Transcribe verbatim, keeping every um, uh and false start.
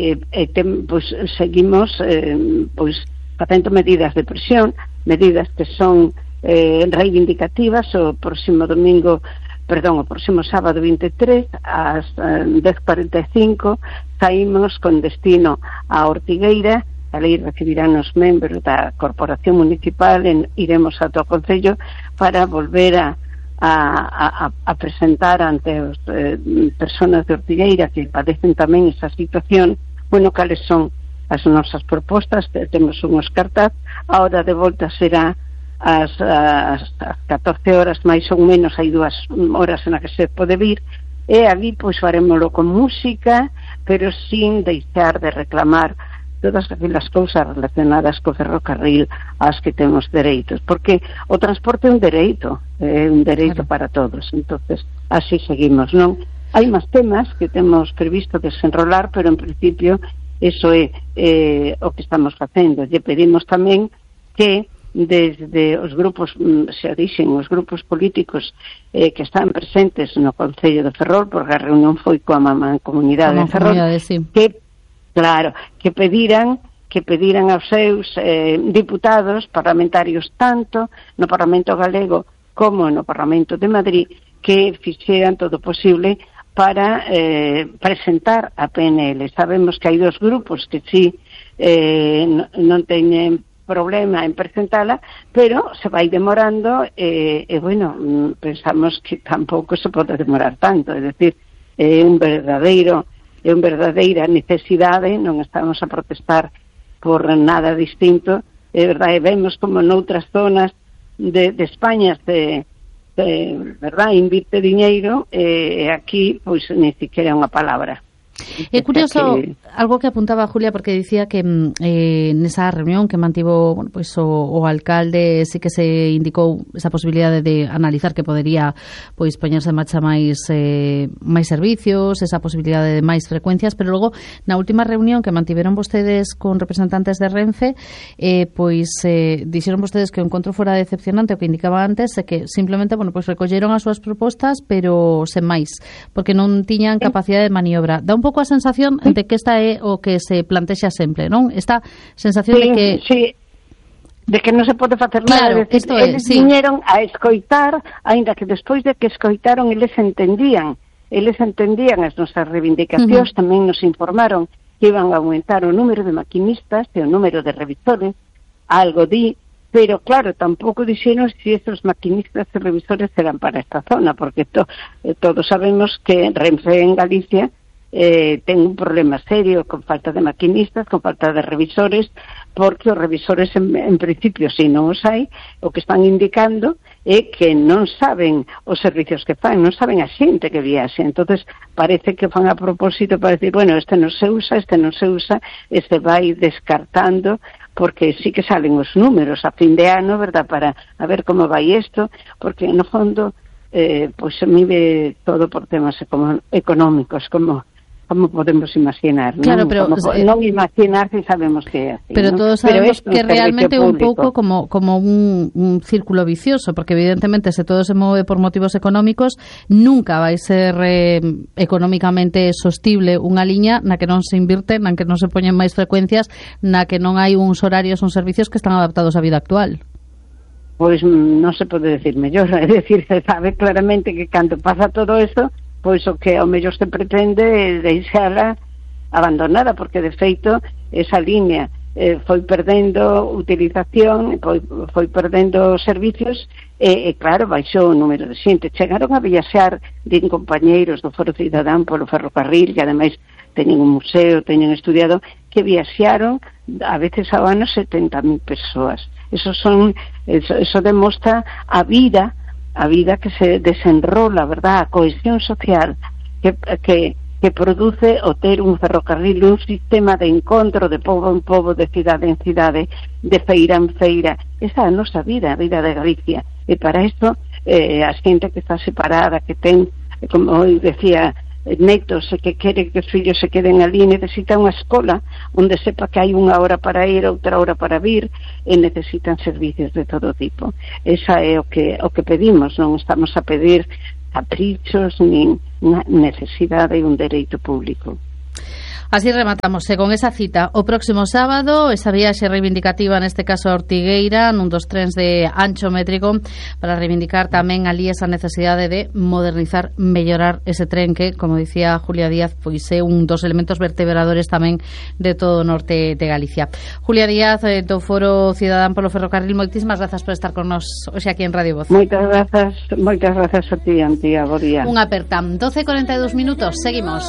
e, e tem, pois, seguimos eh, pois facendo medidas de presión, medidas que son eh, reivindicativas. O próximo domingo, perdón, o próximo sábado vinte e tres ás eh, dez cuarenta e cinco saímos con destino a Ortigueira. Ali recibirán os membros da Corporación Municipal, en, iremos a todo o Concello para volver a, a, a, a presentar ante as eh, personas de Ortigueira que padecen tamén esa situación, bueno, cales son as nosas propostas. Temos unhos cartaz. A hora de volta será ás, ás, ás catorce horas, máis ou menos, hai dúas horas na que se pode vir, e ali pois farémolo con música, pero sin deixar de reclamar todas aquelas cousas relacionadas co ferrocarril ás que temos dereitos, porque o transporte é un dereito, é un dereito, claro, para todos. Entonces así seguimos, non? Hai máis temas que temos previsto desenrolar, pero en principio eso é eh, o que estamos facendo. Lle pedimos tamén que desde os grupos, se dixen, os grupos políticos eh, que están presentes no Concello de Ferrol, porque a reunión foi coa Mancomunidade de Ferrol, sí, que claro, que pediran que pediran aos seus eh, diputados parlamentarios, tanto no Parlamento Galego como no Parlamento de Madrid, que fixeran todo o posible para eh, presentar a P N L. Sabemos que hai dos grupos que sí eh, non teñen problema en presentala, pero se vai demorando e, eh, eh, bueno, pensamos que tampouco se pode demorar tanto, é dicir, é un verdadeiro é unha verdadeira necesidade, non estamos a protestar por nada distinto. É verdade, vemos como noutras zonas de, de España de, de verdade, invirte diñeiro, e aquí pois ni siquiera unha palabra. É curioso que... algo que apuntaba Julia, porque dicía que eh, nesa reunión que mantivo, bueno, pues, o, o alcalde sí que se indicou esa posibilidade de analizar que podería pois poñerse en marcha máis eh, máis servicios, esa posibilidade de máis frecuencias, pero logo na última reunión que mantiveron vostedes con representantes de Renfe, eh, pois eh, dixeron vostedes que o encontro fora decepcionante, o que indicaba antes é que simplemente, bueno, pois recolleron as súas propostas, pero sen máis, porque non tiñan capacidade de maniobra. Dá un pouco a sensación de que esta é o que se plantexa sempre, non? Esta sensación sí, de que... Sí, de que non se pode facer claro, nada. Decir, é, eles sí. viñeron a escoitar, aínda que despois de que escoitaron, eles entendían, eles entendían as nosas reivindicacións, uh-huh. Tamén nos informaron que iban a aumentar o número de maquinistas e o número de revisores, algo di, pero claro, tampouco dixeron se si estes maquinistas e revisores eran para esta zona, porque to, eh, todos sabemos que Renfe en Galicia Eh, ten un problema serio con falta de maquinistas, con falta de revisores, porque os revisores en, en principio, se non os hai, o que están indicando é que non saben os servicios que fan, non saben a xente que viaxe. Entonces parece que fan a propósito para decir, bueno, este non se usa, este non se usa, este vai descartando, porque sí que salen os números a fin de ano, verdad, para a ver como vai isto, porque no fondo eh, pois se mide todo por temas económicos, como como podemos imaginar, non? Claro, pero, como, eh, non imaginar si sabemos que é así, pero ¿no? todos sabemos pero que realmente é un pouco público. como, como un, un círculo vicioso, porque evidentemente se todo se move por motivos económicos, nunca vai ser eh, económicamente sostible unha liña na que non se invirte, na que non se poñen máis frecuencias, na que non hai uns horarios, uns servicios que están adaptados á vida actual. Pois non se pode decir mellor, é dicir, se sabe claramente que cando pasa todo isto, pois o que ao mellor se pretende é deixala abandonada, porque de feito esa liña eh, foi perdendo utilización, foi, foi perdendo servicios, e, e claro, baixou o número de xente. Chegaron a viaxar din compañeiros do Foro Cidadán polo ferrocarril, que ademais teñen un museo, teñen estudiado, que viaxaron a veces ao ano setenta mil persoas. Eso son, eso, eso demostra a vida a vida que se desenrola, verdad, a cohesión social que, que, que produce o ter un ferrocarril, un sistema de encontro de pobo en pobo, de cidade en cidade, de feira en feira. Esa é a nosa vida, a vida de Galicia, e para isto eh, a xente que está separada, que ten, como decía, netos e que quere que os fillos se queden ali, necesita unha escola onde sepa que hai unha hora para ir, outra hora para vir, e necesitan servicios de todo tipo. Esa é o que o que pedimos, non estamos a pedir caprichos nin necesidade de un dereito público. Así rematamos eh, con esa cita o próximo sábado, esa viaxe reivindicativa neste caso a Ortigueira, nun dos trens de ancho métrico, para reivindicar tamén ali esa necesidade de modernizar, mellorar ese tren que, como dicía Julia Díaz, pois é un dos elementos vertebradores tamén de todo o norte de Galicia. Julia Díaz, eh, do Foro Cidadán polo Ferrocarril, moitísimas grazas por estar con nos hoxe aquí en Radio Voz. Moitas grazas, moitas grazas a ti, Antía, bo día. Unha aperta. doce e cuarenta e dous minutos, seguimos.